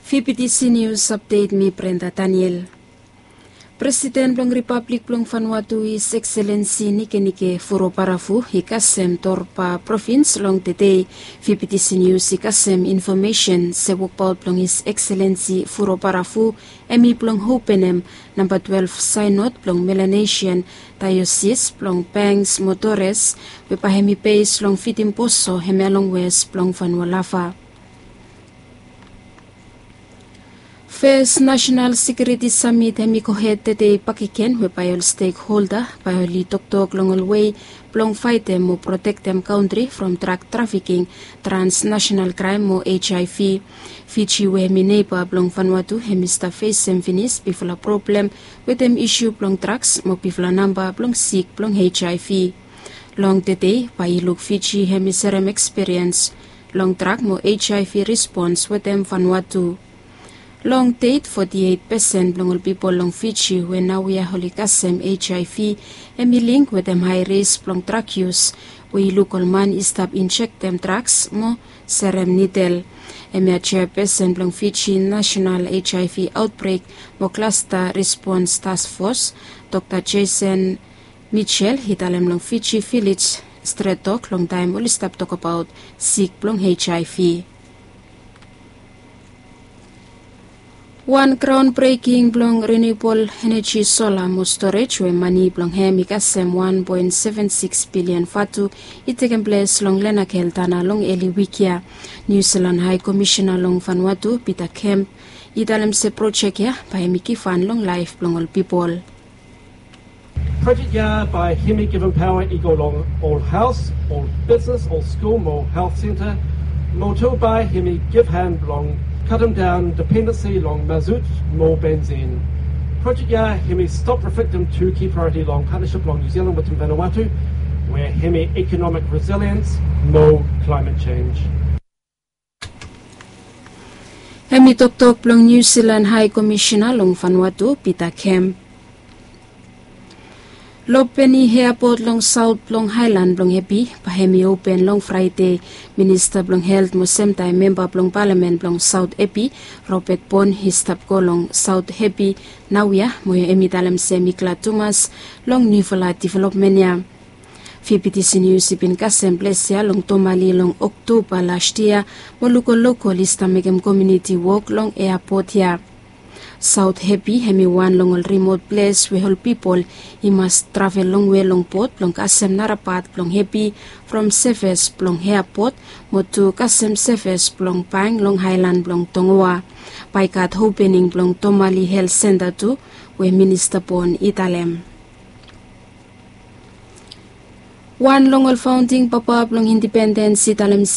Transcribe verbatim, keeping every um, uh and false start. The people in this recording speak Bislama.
Fifty News Update, mi Brenda Daniel. Presiden blong Ripablik blong Vanuatu, His Excellency Nikenike Vurobaravu, i kasem Torba provins long tede. Fifty News i kasem infomesen se wokbaot blong His Excellency Vurobaravu hemi blong openem namba twelve sainod blong Melanesian Daiosis blong Banks mo Torres, we bae hemi bes long Vitimboso, hemia long wes blong Vanua Lava. Fes Nasenal Sekiuriti Samit hemi gohed tede bakegen, we bae ol stekholda bae oli toktok long ol wei blong faetem mo protektem kantri from drag trafiking, transnasenal kraem mo HIV. Fiji, we hemi neba blong Vanuatu, hemi stap fesem finis bigfala problem wetem isu blong drags mo bigfala namba blong sik blong HIV. Long tede bae i luk Fiji hemi serem ekspiriens long drag mo HIV rispons wetem Vanuatu. Long det, foti eit pesen blong ol pipol long Fiji we naoia oli kasem HIV hemi link wetem hae risk blong drag yus, we i luk ol man i stap injektem drags mo serem nidel. Hemia jeapesen blong Fiji Nasenal HIV Aotbrek mo Klasta Rispons Task Fos, Dokta Jason Mitchell, i talem long Fiji Village Stret Tok long taem oli stap tokbaot sik blong HIV. Wan graon breking blong renewable energy sola mo storage, we mane blong hem i kasem wan poen seven sikis bilian vatu, i tekem ples long Lenakel Tana long eli wik ya. Niu Silan Hae Komisena long Vanuatu, Pita Kemp, i talem se projek ya bae hemi givhan long laef blong ol pipol. Projek ya bae hemi givim paoa i go long ol haos, ol bisnes, ol skul mo health center, mo tu bae hemi givhan blong katemdaon dependensi long mazut mo benzin. Projek ya hemi stop reflektem tu ki praeoriti long patnasip blong Niu Silan wetem Vanuatu, we hemi ikonomik resiliens mo klaemet jenj. Hemi toktok blong Niu Silan Hae Komisena long Vanuatu, Pita Kemp. Lopeni eapot long saot blong aelan blong Hepi bae hemi open long Fraede. Minista blong Helt mo semtaem memba blong palamen blong Saot Hepi, Robert Bon, i stap go long Saot Hepi naoia, mo hemi talem se hemi glad tumas long niufala developmen ya. Fifty News i bin kasem ples ya long Tomali long Oktoba las yia, mo luk ol lokol i stap mekem komuniti wok long eapot ya. Saot Hepi hemi wan long ol rimot ples we ol pipol i mas travel longwe long bot blong kasem nara pat blong Hepi from sevis blong eapot, mo tu kasem sevis blong bank long aelan blong Tongoa. Bae i gat opening blong Tomali Helt Senta tu, we Minista Bon i talem. Wan long ol faonding papa blong indipendens i talem